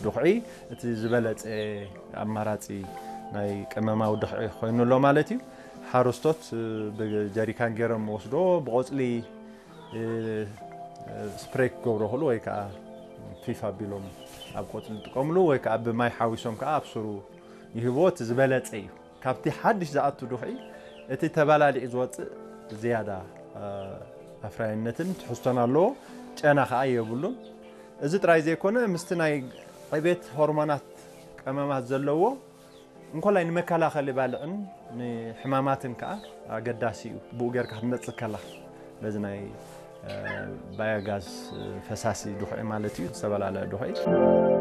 ድኹዒ እቲ ዝበለጸ ኣማራጺ ናይ ቀመማዊ ድኹዒ ኮይኑ ኣሎ ማለት እዩ። ሓረስቶት ብጀሪካን ገይሮም ወስዶ ብቆጽሊ ስፕሬይ ክገብሮ ክእሉ ወይ ከዓ ፊፍ ኣቢሎም ኣብ ቆጽሊ ጥቀምሉ ወይ ከዓ ብማይ ሓዊሶም ከዓ ኣብ ስሩ ይህብዎ። እቲ ዝበለጸ እዩ። ካብቲ ሓድሽ ዝኣቱ ድኹዒ እቲ ተባላሊዑ ዝወፅእ ዝያዳ ኣፍራይነትን ትሕዝቶን ኣለዎ። ጨና ከዓ የብሉን። እዚ ጥራይ ዘይኮነ ምስቲ ናይ ዕቤት ሆርሞናት ቀመማት ዘለዎ እንኮላይ ንመከላኸሊ ባልዕን ንሕማማትን ከዓ ኣገዳሲ እዩ። ብኡ ጌርካ ክትመፅእ ከላ በዚ ናይ ባዮጋዝ ፈሳሲ ድኹዒ ማለት እዩ ዝተፈላለየ ድኹዒ